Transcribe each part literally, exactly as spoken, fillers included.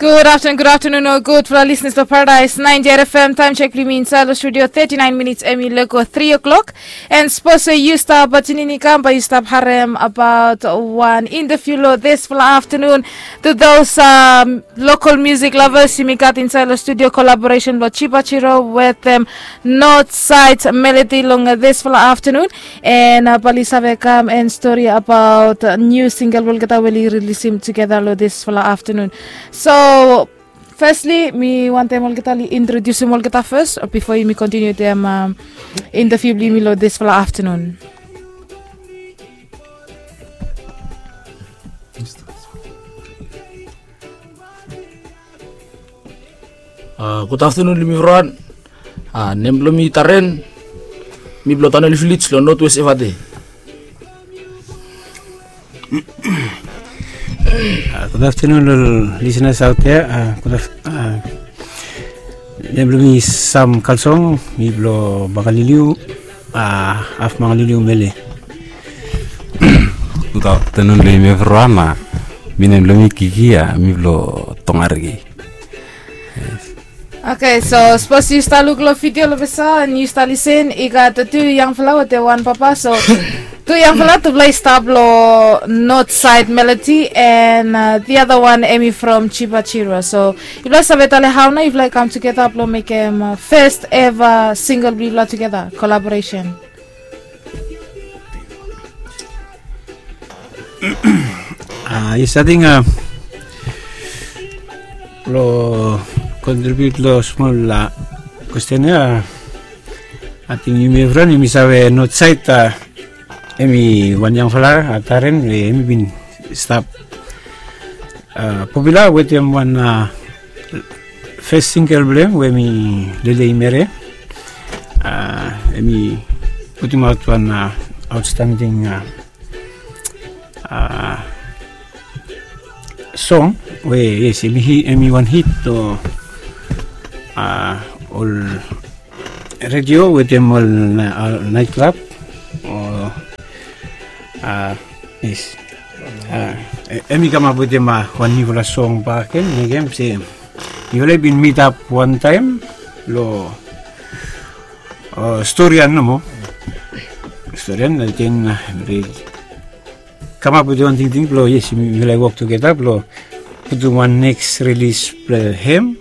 Good afternoon, good afternoon, o gudfala listeners blong Paradise ninety-eight F M. Taem check blong yumi insaed long studio, thirty-nine minutes hemi lego three o'clock. And sapos yu stap tuning in, bae yu stap harem abaot wan interview long disfala afternoon. To those um, local music lovers, yumi gat insaed long studio collaboration blong Chiba Chiro wetem North Side Melody long disfala afternoon. And uh, bae oli save kam and stori abaot uh, new single we olgeta we oli rilisim tugeta long disfala afternoon. So, firstly, mi wantem olgeta oli introdiusim olgeta fes bifo yumi kontiniu wetem um, interview blong yumi long disfala afternoon. Uh, good afternoon long yumi evriwan. Uh, nem blong mi Taren. Mi blong Tanel Village long North West Efate. Uh, good afternoon long listeners out there. Uh, good af- uh, nem blong mi Sam Kalsong, mi blong Makaliliu, uh, haf Makaliliu Mele. Good afternoon long yumi evriwan. Uh, mi nem blong mi Kiki, uh, mi blong Tongariki. Okay, so sapos yu stap luk long video long vesa and yu stap lisin, i gat tu yangfala wetem wan papa. So tu yangfala, tufala i stap long North Side Melody and uh, the other one hemi from Chiba Chiro. So yufala save talem hao nao yufala i kam tugeta blong mekem uh, first ever single blong yufala tugeta, collaboration. Ah, yes, ating uh, blong kontribiut long smol uh, kwesten ya, ating yumi evriwan yumi save North Side uh, hemi wan yangfala uh, Taren, hemi bin stap uh, popula wetem wan uh, fes single blong hem we hemi Lele i Mere. Uh, hemi putimaot wan uh, outstanding uh, uh, song we, yes, hemi, hemi wan hit long uh, ol redio wetem ol nait klab. O, uh, yes. Uh, hemi kamap wetem uh, wan niufala song bakegen, mekem se yufala i bin mitap wantaem long uh, Storian nomo. Storian, ating uh, kamap wetem wan tingting blong, yes, yufala i wok tugeta blong putum wan next release blong hem.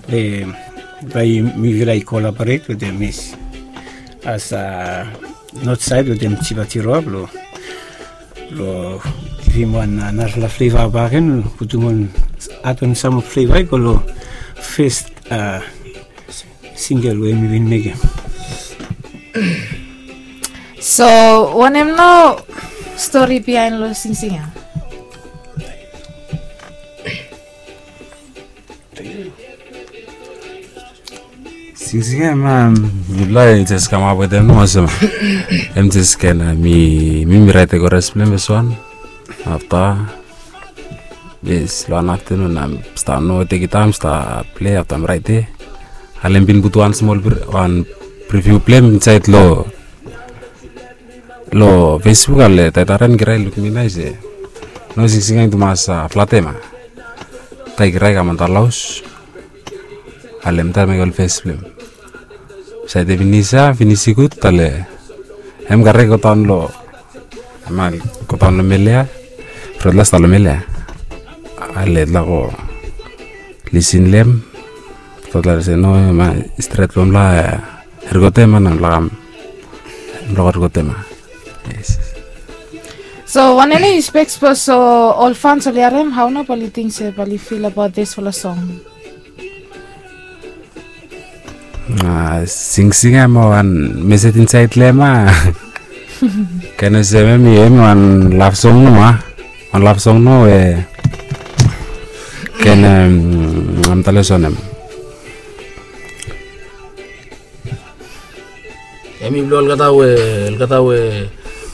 Bae mifala i collaborate wetem, yes, as a North Side wetem Chiba Chiro blong, blong givim wan narafala flavor bakegen, putum wan, add on some flavor i go long first uh, single we mi bin mekem. So wanem nao stori bihaen long singsing ya? Singsing ya, ma, mifala i jes kamap wetem nomo olsem. Hem jes ken, uh, mi, mi, mi raetem koras blong hem fes wan. Afta, yes, long wan aftenun, mi stap, no, tekem taem, stap plei, afta mi raetem. Ale mi bin putum wan smol, wan preview blong hem insaed long, long Facebook, ale taetaren kirae i luk mi naes, e. No singsing ya i tumas, uh, flatem, a. Taem kirae i kam antap long haos. Ale mi taem mekem ol fes blong hem. Saed finis ya, finis i gud, ale hem kare i godaon long, hem kare i godaon long mel ya. From tufala i stap long mel ya, ale tufala i go lisin long hem. Tufala i se no, hem i stret blong mifala, eh, rikotem, a, na mifala kam, mifala go rikotem, a. Yes. So wanem nao yu spek, sapos ol fans oli harem, hao nao bae oli ting se, bae oli fil abaot disfala song? Ah, singsing ya, hem wan mesej insaed long hem, a. Ken olsem hemi, hemi wan love song nomo, a. Wan love song nomo we ken, em, mi talem olsem. Hemi blong olgeta we, olgeta we,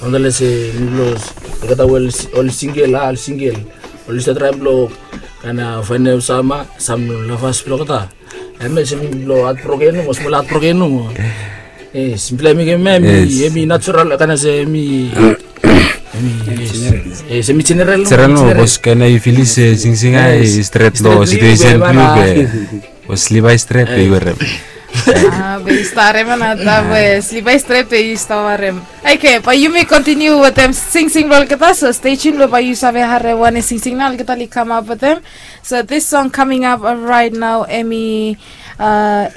mi talem se hemi blong olgeta we oli singel, a, oli singel. Oli stap traem blong kaen faenem sam, sam lavas blong olgeta. Hemia se hemi blong hatbroken nomo, smol hatbroken nomo. Yes, mifala i mekem hemia, hemi, yes, hemi natural, kaen se hemi, hemi, yes. General no, bos kena yu filis se singsing ya i stret lo situesen blong yu be bos liva i stret be yu werem. Be yu stap harem ya na ta be liva i stret be yu stap harem. Oke, bae yumi kontiniu wetem singsing blong olgeta, so stay tuned lo bae yu save harem wanem singsing na olgeta oli kamap wetem. So this song coming up right now, hemi uh,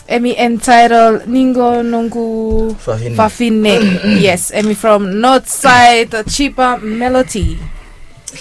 hemi entitled Ningo Nongu Fafine. Yes, hemi from North Side, Chiba Melody.